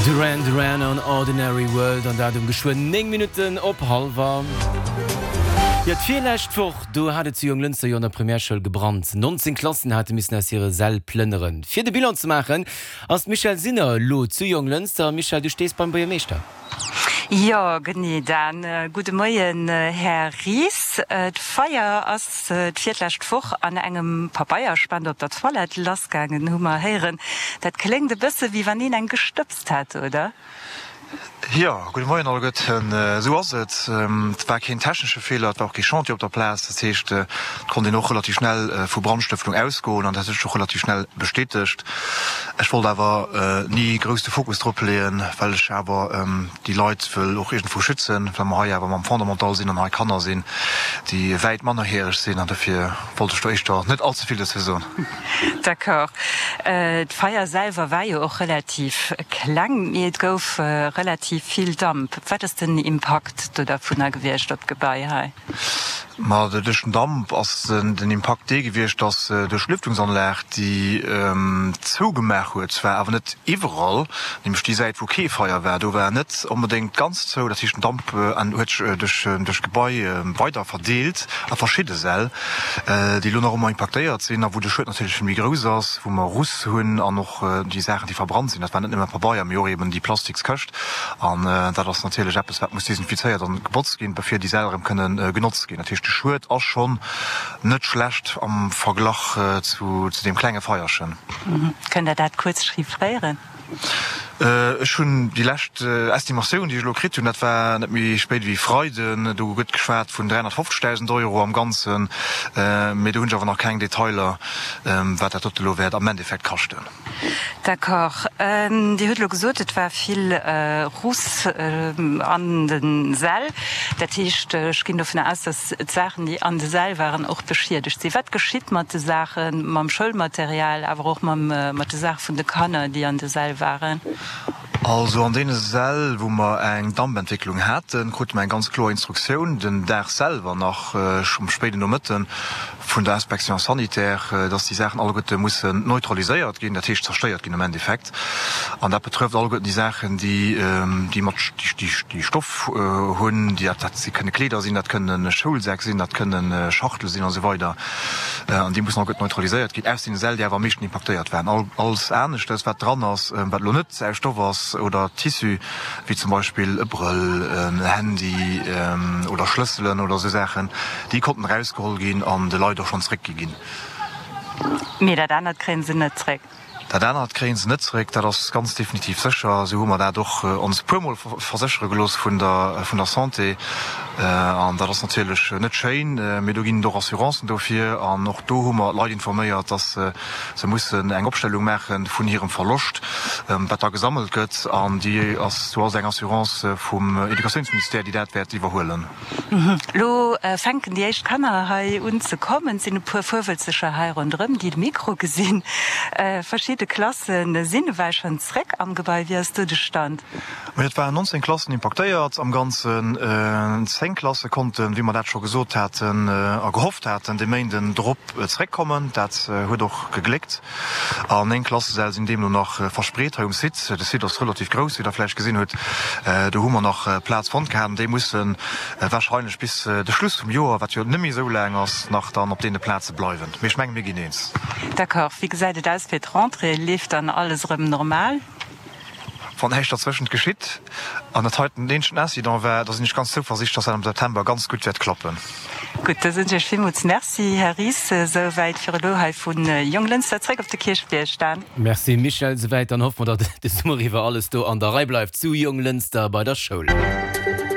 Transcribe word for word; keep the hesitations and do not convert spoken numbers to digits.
Duran Duran an Ordinary World an dat um geschwënn néng Minutten op hallwer. Jo, d'virlescht Woch, do hat et zu Jonglënster jo an der Primärschoul gebrannt. nonzéng Klassen hate missen aus hire Säll plënneren. Fir de Bilan ze maachen, ass d'Michèle Sinner elo zu Jonglënster. Michèle, du stees beim Buergermeeschter. Jo, genee Dan. Gudde Moien, Här Ries. D'Feier ass d'virlescht Woch an engem Pabeierspender op der Toilette lassgaangen, hu mer héieren. Dat kléngt e bësse wéi wann een eng gestëbst hätt, oder? Jo, gudde Moien alleguerten. Esou ass et. Et war keen technesche Feeler, et war och kee Chantier op der Plaz. Dat heescht, et konnt een och relativ schnell vu Brandstëftung ausgoen an dat huet sech och relativ schnell bestätegt. Ech wollt awer ni grouss de Fokus drop leeën, well ech awer déi Leit wëll och iergendwou schützen, well mer hei awer mam Fondamental sinn an hei Kanner sinn, déi wäit mannerjäreg sinn an dofir wollt ech do éischter net allze vill dozou soen. D'accord. D'Feier selwer war jo och relativ kleng, mee et gouf relativ vill Damp. Wat ass den Impakt do dervunner gewiescht op d'Gebai hei? Ma duerch den Damp ass den Impakt dee gewiescht, dass duerch d'Lüftungsanlag, déi zougemaach huet, zwar awer net iwwerall, nämlech déi Säit wou kee Feier war, do war net onbedéngt ganz zou, dat heescht den Damp huet sech duerch d'Gebai weider verdeelt a verschidde Säll, déi elo nach ëmmer impaktéiert sinn a wou de Schued natierlech vill méi grouss ass, wou mer Russ hunn an och déi Saachen, déi verbrannt sinn. Dat war net nëmme Pabeier, mee och eben déi Plastikskëscht. An dat ass natierlech eppes, wat muss desinfizéiert an gebotzt ginn, bevir déi Säll erëm kënnen genotzt ginn. Dat heescht, de Schued ass schonn net schlecht am Verglach zu deem klenge Feierchen. Kënnt Der dat kuerz chiffréieren? Ech hunn déi lescht Estimatioun, déi ech elo kritt hunn, dat war net méi spéit ewéi Freiden, do gëtt geschwat vun dräihonnertfofzegdausend Euro am Ganzen, mee do hunn ech awer nach keng Detailer, wat dat dote elo wäert am Endeffekt kaschten. D'accord. Dir hutt elo gesot, et war vill Russ an de Säll. Dat heescht, ech ginn dovun aus, datt d'Saachen, déi an de Säll waren, och beschiedegt sinn. Wat geschitt mat de Saachen, mam Schoulmaterial, awer och mat de Saache vun de Kanner, déi an de Säll waren? Also an deene Säll, wou mer eng Dampentwécklung haten, krute mer eng ganz kloer Instruktioun den Dag selwer nach, um spéiden Nomëtten, vun der Inspection sanitaire, dass déi Saachen alleguerte mussen neutraliséiert ginn, dat heescht zerstéiert ginn am Endeffekt. An dat betrëfft alleguerten déi Saachen, déi, déi mat, déi Stoff hunn, déi, dat kënne Kleeder sinn, dat kënne Schoulsäck sinn, dat kënne Schachtele sinn a sou weider. An déi mussen alleguerten neutraliséiert ginn aus deene Säll, déi awer am meeschten impaktéiert waren. Alles aneschtes, wat dran ass, wat elo net aus Stoff ass oder Tissu, wéi zum Beispill e Brëll, en Handy oder Schlësselen oder esou Saachen, déi konnten erausgeholl ginn an de Leit och schonn zeréckgi ginn. Mee dat anert kréie se net zeréck? Dat anert kréie se net zeréck, dat ass ganz definitiv sécher. Esou hu mer dat och ons e puermol verséchere gelooss vun der vun der Santé. An dat ass natierlech net schéin, mee do ginn et och Assurancen dofir. An och do hu mer d'Leit informéiert, dass Se mussen eng Opstellung maache vun hirem Verloscht, wat da gesammelt gëtt, an déi ass, do ass eng Assurance vum Educatiounsministère, déi dat wäert iwwerhuelen. Elo fänken déi éischt Kanner hei un ze kommen. Et sinn e puer Fuerwëlzeger hei ronderëm, déi de Mikro gesinn. Verschidde Klasse sinn ewell schonn zréck am Gebai. Wéi ass do de Stand? Et waren nonzéng Klassen impaktéiert am Ganzen. Zéng Klasse konnten, wéi mer dat scho gesot haten a gehofft haten, de Méinden drop zeréckkommen. Dat huet och gegléckt. An néng Klassesäll sinn deemno nach verspreet hei um Site. De Site ass relativ grouss, wéi Der vläicht gesinn hutt. Do hu mer nach Plaz fonnt gehat. Déi musse warscheinlech bis de Schluss vum Joer, wat jo net méi esou laang ass, nach dann op deene Plaze bleiwen. Mee ech menge mir ginn eens. D'accord. Wéi gesäit et aus fir d'Rentrée? Leeft dann alles erëm normal? Wann näischt derzwëschent geschitt an dat heiten den eenzegen Incident war, da sinn ech ganz zouversiichtlech, dass dat am September ganz gutt wäert klappen. Gutt, da soen ech Iech villmools Merci, Här Ries. Esouwäit fir elo hei vu Jonglënster zréck op de Kierchbierg. Dan. Merci Michèle, esouwäit. Dann hoffe mer, datt de Summer iwwer alles do an der Rei bleift zu Jonglënster bei der Schoul.